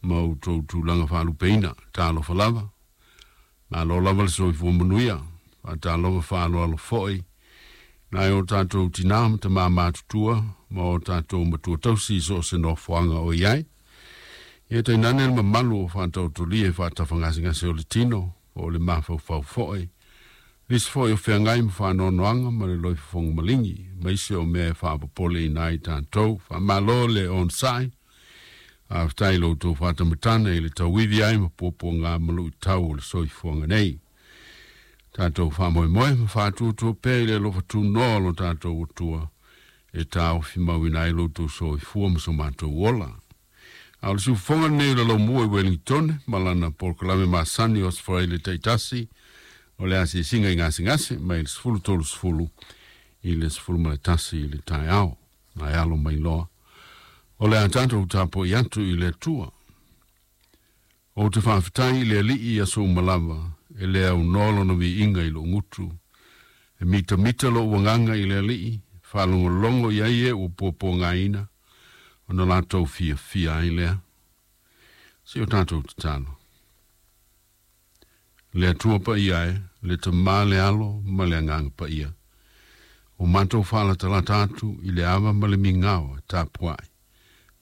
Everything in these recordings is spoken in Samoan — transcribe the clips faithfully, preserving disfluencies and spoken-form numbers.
Ma outou tulaga faalupeina. Talofa lava. Malo lava le soifua manuia. Faatalofa faaaloalo fo'i nai o tatou tinā ma tamā matutua ma o tatou matua tausi i so o se nofoaga o i ai. Ia tainane le mamalu o faataotolia i faatafagasegase o le tino po o le mafaufau fo'i. Nisi fo'i o feagai ma faanoanoaga ma le loifofoga maligi, ma isi o mea e faapopoleina ai tatou. Faamalo le onosai. Faafetai i lo outou faatamatana i le tauivi ai ma puapuaga ma luitau o le soifuaga nei. Tatou faamoemoe ma faatuatua pea i le alofa tunoa o lo tatou Atua e taofimauina ai lo outou soifua ma so matou ola. A o le siufofoga lenei o le Laumua i Ueligitone ma lana polokalame masani o Aso Faraile taitasi o le asiasiga i gasegase mai le sefulu tolu sefulu i le sefulu ma le tasi i le taeao. Ae alo mai loa o le a tatou tapuai atu i le Atua. Ou te faafetai i le Alii i aso uma lava, e le aunoa lona viiga i lou gutu. E mitamita lou agaga i le Alii, faalogologo i ai e ua puapuagaina, ona latou fiafia ai lea. Se i o tatou tatalo. Le Atua paia e, le Tamā, le Alo ma le Agaga Paia, ua matou faalatalata atu i le ava ma le migao e tapuai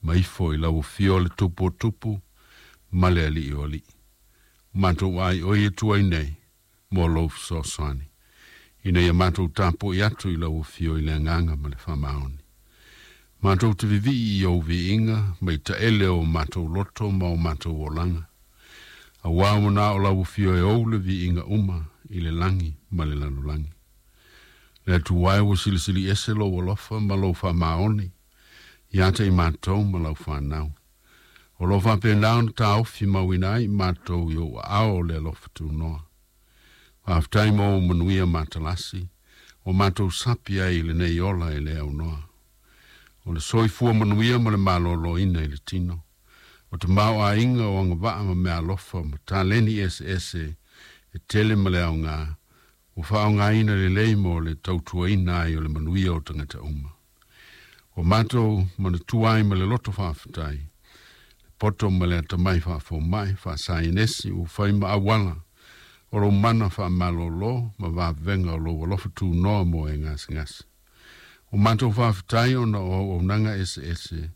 ma ifo i lau afio o le Tupu o Tupu ma le Alii o Alii. Ua matou aioi atu ai nei mo lou fesoasoani, ina ia matou tapuai atu i lau afio i le agaga ma le faamaoni. Matou te vivii i ou viiga ma i taele o matou loto ma o matou olaga, auā ua na o lau afio e ou le viiga uma i le lagi ma le lalolagi. Le Atua e, ua silisili ese lou alofa ma lou faamaoni ia te i matou ma lau fanau. O lo o faapena ona taofi mauina ai i matou i ou aao o le alofa tunoa. Faafetai mo ou manuia matalasi ua matou sapi ai i lenei ola e le aunoa. O le soifua manuia ma le malōlōina i le tino. O tamaoaiga o agavaa ma meaalofa ma taleni eseese e tele ma le aoga, ua faaaogaina lelei mo le tautuaina ai o le manuia o tagata uma. Ua matou manatua ai ma le loto faafetai, le poto ma le atamai faafomai, faasaienesi ua fai ma auala o lou mana faamalōlō ma vavega o lou alofa tunoa mo e gasegase. Ua matou faafetai ona o auaunaga eseese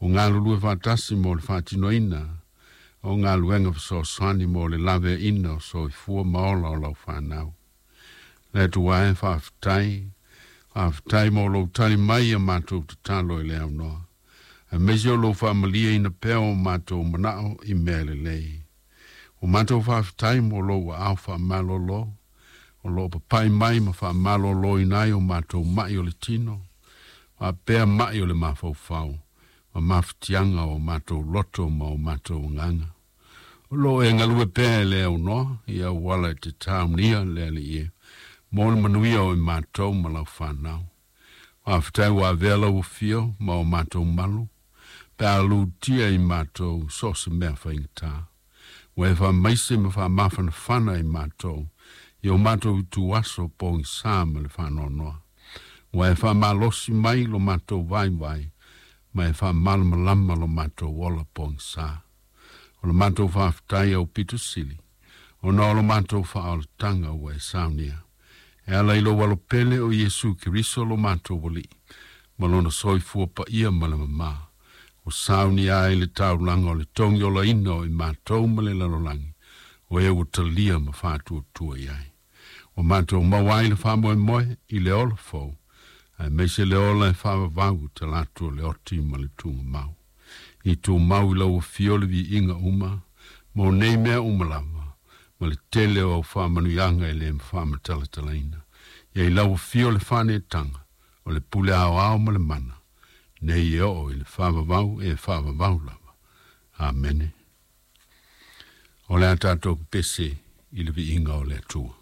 ua galulue faatasi mo le faatinoina o galuega fesoasoani mo le laveaiina o soifua ma ola o lau fanau. Le Atua e, faafetai, faafetai mo lou tali mai ia matou tatalo i le aunoa, aemaise o lou faamalieina pea o matou manao i mea lelei. Ua matou faafetai mo lou aao faamalōlō o loo papai mai ma faamalōlōina ai o matou mai o le tino, faapea mai o le mafaufau, ma mafatiaga o matou loto ma o matou agaga. O loo e galue pea e le aunoa i auala e te taunia le Alii e, mo le manuia o i matou ma lau fanau. Faafetai ua avea lau afio ma o matou malu, pe a lutia i matou so o se mea faigata. Ua e faamaise ma faamafanafana i matou i o matou ituaso pogisā ma le faanoanoa. Ua e faamalosi mai lo matou vaivai ma e faamalamalama lo matou ola pogisā. O le matou faafetai aupito sili, ona o lo matou faaolataga ua e saunia e ala i lou Alopele o Iesu Keriso lo matou Alii, ma lona soifua paia ma le mamā, ua saunia ai le taulaga o le togiolaina o i matou ma le lalolagi, o e ua talia ma faatuatua i ai. Ua matou maua ai le faamoemoe i le ola fou, aemaise le ola e faavavau talaatu o le oti ma le tugamau. I tumau i lau afio le viiga uma, mo nei mea uma lava, ma le tele o au faamanuiaga e le faamatalatalaina. Ia i lau afio le faaneetaga, o le pule aoao ma le mana, nei e oo i le faavavau e faavavau lava. Amene. O le a tatou pepese i le viiga o le Atua.